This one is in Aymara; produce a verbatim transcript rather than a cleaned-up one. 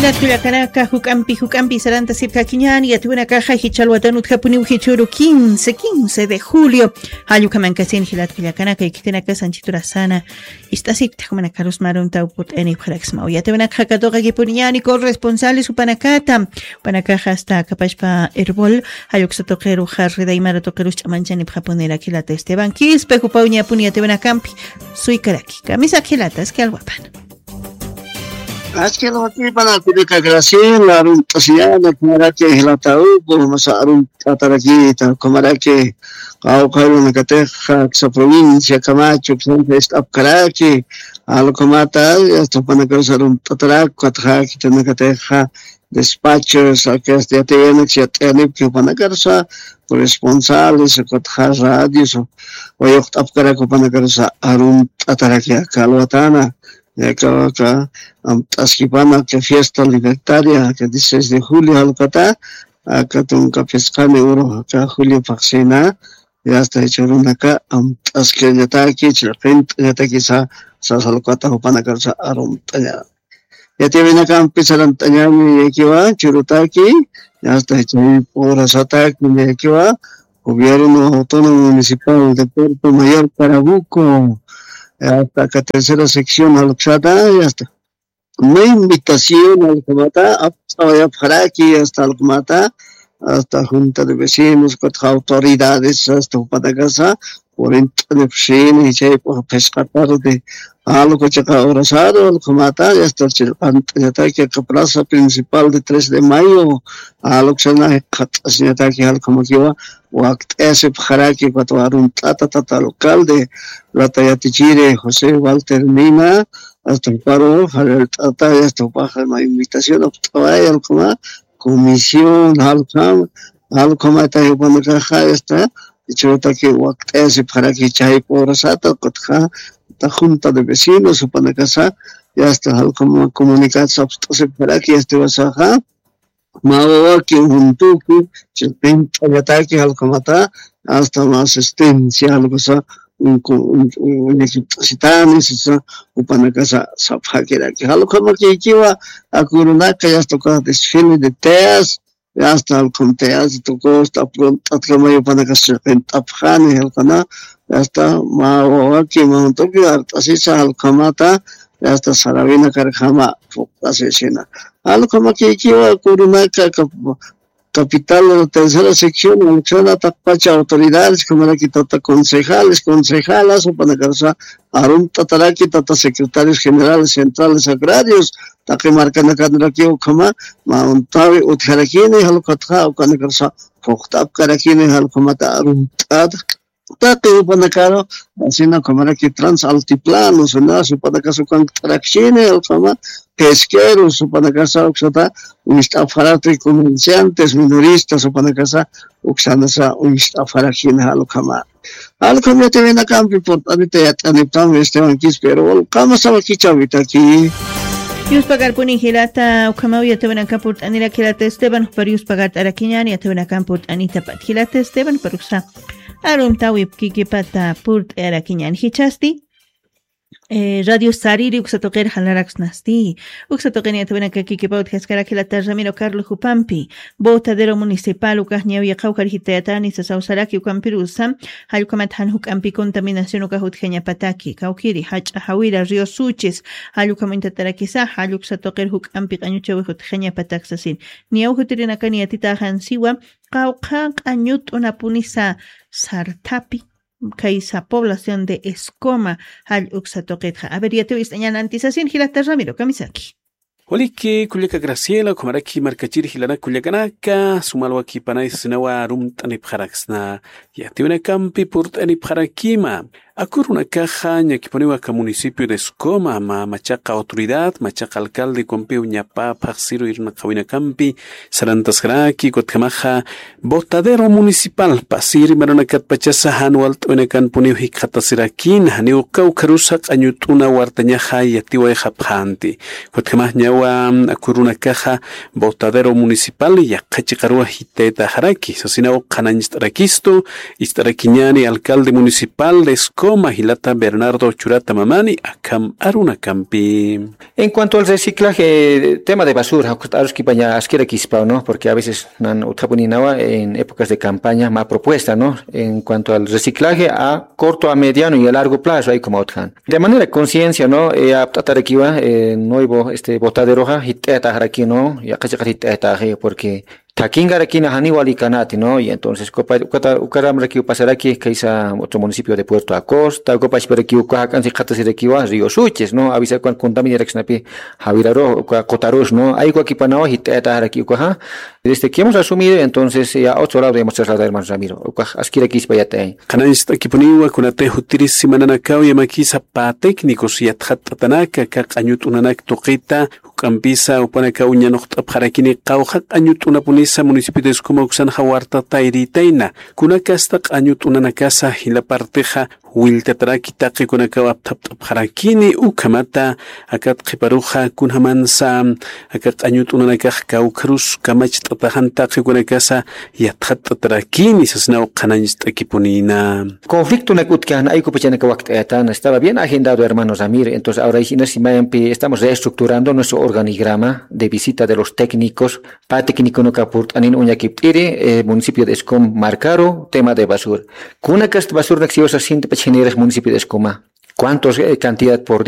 Jilat kullakanaka, juk'ampi juk'ampi sarantasipkakiñäni, yatiyawinakaxa jichha alwatan utjapuniw jichhüru quince, quince de julio. Jall ukhamankasin jilat kullakanaka, ikitinaka sanchiturasana ist'asipkta, jumanakarus mä aruntaw purt'anipxaraksmaw. Yatiyawinakaxa katuqakipuniñäni corresponsales jupanakata. Jupanakaxa hasta Capachpa Erbol, jall uksa tuqiruxa Rida Aymara tuqirus ch'amanchanipxapuniraki jilata Esteban Quispe, jupaw ñapuni yatiyawinakampi suykaraki. Kamisaki jilata, aski alwapan. Aski alwakipan, kullaka Graciela, arunt'asiñäni, ukhamaraki jilata Hugo, masa arunt'atarakïta, ukhamaraki qawqha ayllunkatix, aksa provincia Camacho, ukhamanakax ist'apkaraki, jall ukhamata, yasta jupanakarus arunt'atarak, ukatxa khitinakatix despachos, aksa yatiyawinaksa yat'ayanipki jupanakarus, corresponsales, ukatxa radios, wayuqt'apkarak jupanakarus arunt'atarak aka alwatana. Aka, aka amt'askipana aka fiesta libertaria, aka dieciséis de julio jall ukata, aka tunka phisqani uru, aka julio phaxsina, yasta jichhürunaka amt'askañataki, chillqint'añataki sa, sasa jall ukata jupanakarus arunt'aña. Yatiyawinakampi sarant'añäni niyakiwa, churutaki, yasta jichhüru urasataki niyakiwa, Gobierno Autónomo Municipal de Puerto Mayor Carabuco, hasta aka tercera sección jall uksata, hasta mä invitación jall ukhamata apt'awayapxaraki, hasta jall ukhamata, hasta Junta de Vecinos, ukatxa autoridades, hasta jupanakasa, purint'anipxsini, jichhayp'ux phisqa tarde, jall uka chiqa horasaru, jall ukhamata, hasta chillqant'añataki aka plaza principal de tres de mayo, jall uksana jikxatasiñataki, jall ukhamakiwa, wakt'ayasipxaraki, ukatwa arunt'ata tata alcalde, lata yatichiri José Walter Mina, hasta juparu, jallallt'ata, hasta jupaxa mä invitación apt'away, jall ukhama, comisión, jall ukhama, jall ukhamata jupanakaxa, hasta, jichhürutaki wakt'ayasipxaraki jichhayp'u urasata, ukatxa, ta junta de vecinos, jupanakasa, hasta jall ukhama comunicado sapxt'asipxaraki, hasta jiwasaxa, mä wawaki, juntuki, chillqint'añataki, jall ukhamata, hasta mä asistencia, jall ukasa, un, un, un, uñakipt'asitani, sisa, jupanakasa, sapxakiraki. Jall ukhamakïkiwa, aka urunaka, hasta uka desfile de teas, hasta jall ukham teas, tukusta, aprunt'atkamay jupanakasa chillqint'apxani, jall ukana, hasta mä wawaki, mä juntuki, art'asisa, jall ukhamata, hasta sarawinakarjama, phuqt'asisina. Jall ukhamakïkiwa, aka urunaka, aka capital, tercera sección, jall uksana taqpacha autoridades, ukhamaraki tata concejales, concejalas, jupanakarsa arunt'ataraki tata secretarios generales centrales agrarios, taqi markanakanrakiw ukhama, mä untawi utjarakini, jall ukatxa, ukanakarsa phuqt'apkarakini, jall ukhamata arunt'ata, taqi jupanakaru, asina ukhamaraki transaltiplano, sina, jupanakasa ukanktarakchini, jall ukhama, pesqueros, jupanakasa uksata, uñst'apxaraki comerciantes, minoristas, jupanakasa, uksanasa, uñst'apxarakchini, jall ukhama. Jall ukham yatiyawinakampi purt'anita yat'aniptam, Esteban Quispe, pero, walqama sawakichawitaki. Yuspagarpuni jilata, ukhamaw yatiyawinaka purt'anirak jilata Esteban, jupar yuspagart'arakiñäni, yatiyawinakan purt'anitapat. Jilata Esteban, jupar uksa aruntawipkikipata purt'ayarakiñäni. Jichhasti, eh, Radio Sariri uksa tuqir jalaraksnasti. Uksa tuqir yatiyawinakakikipa utjaskarak jilata Ramiro Carlos jupampi. Botadero Municipal ukax ñawi qawqhar jitayatani sasaw saraki ukampirusa. Jall ukhamat jan juk'ampi contaminación ukax utjañapataki. Kawkiri, Jach'a Jawira, Río Suchis. Jall ukham uñtatarakisa, jall uksa tuqir juk'ampi q'añuchawix utjañapatak sasin. Niyaw jutirinakani yatitäxan siwa, qawqha q'añut'unapunisa sarthapi, khaysa población de Escoma, jall uksa tuqitxa. A ver, yatiw ist'añan antisasin, jilata Ramiro, kamisaki. Waliki, kullaka Graciela, ukhamaraki markachir jilanak kullakanaka, suma alwakipanay sasinawa arumt'anipxaraksna, yatiyawinakampi purt'anipxarakima. Aka urunakaxa, ñakipuniwa aka municipio de Escoma, mä machaqa autoridad, machaqa alcalde, ukampiw ñapa phaxsiru irnaqawinakampi, sarantaskaraki, ukatjamaxa, botadero municipal, pasiri marunakatpachasa, jan walt'awinakanpuniw jikxatasirakin, janiw kawkharusa q'añut'una wartañaxa yatiwayxapxänti. Ukatjamax ñawa, aka urunakaxa, botadero municipal, yaqha chiqaruwa jitayataxaraki, sasinaw qhanañcht'arakistu, ist'arakiñäni alcalde municipal de Escoma, Uma jilata Bernardo Churata Mamani akham arunakampi. En cuanto al reciclaje, tema de basura, jukut aruskipaña askirakispaw, ¿no? Porque a veces nan utjapuninawa en épocas de campaña, ma propuesta, ¿no? En cuanto al reciclaje a corto, a mediano y a largo plazo, hay como utjan. De manera conciencia, ¿no? Eh, apt'atarakiwa, eh, nuevo, este, botaderoja, jit'ayataxaraki, ¿no? Yaqha chiqat jit'ayataxi, porque thakinkarakina janiw wali kanati, ¿no? Y entonces, ukaramrakiw pasaraki, kaysa otro municipio de Puerto Acosta, uka pachparakiw uka jak'ansi qhatasirakiwa, Río Suches, ¿no? Avisakuwan contaminaraksnapi, jawirarux, uka qutarux, ¿no? Aykuwakipanawa, jit'ayataxaraki ukaxa. Desde que hemos asumido, entonces, ya otro lado hemos trasladado, hermano Ramiro. Ukax askirakispa yatay. Qhanañcht'akipuniwa, kunatay jutiri simananakaw yamakisa pä técnicos yatxatt'atanaka, aka q'añu t'unanak tuqita, juk'ampisa jupanakaw ñanuqt'apxarakini qawqha q'añu t'unapunisa municipio de Escoma uksanxa warta tayritayna, kunakasta q'añu t'unanakasa jila partixa willtataraki taqikunakaw apthapt'apxarakini, ukhamata akat qhiparuxa kunjamansa aka q'añu t'unanakax kawkharus kamacht'ataxan taqikunakasa yatxatt'atarakini sasnaw qhanañcht'akipunina. Conflictonak utjkän aykupachanaka wakt'ayatana, estaba bien agendado, hermano Ramiro. Entonces, ahora inas mayampi estamos reestructurando nuestro organigrama de visita de los técnicos, pä técniconak purt'anin uñakipt'iri, eh, municipio de Escom markaru, tema de basura. Kunakast basuranak siwasa sintipach generas municipio de Escoma. ¿Cuántos, eh, cantidad por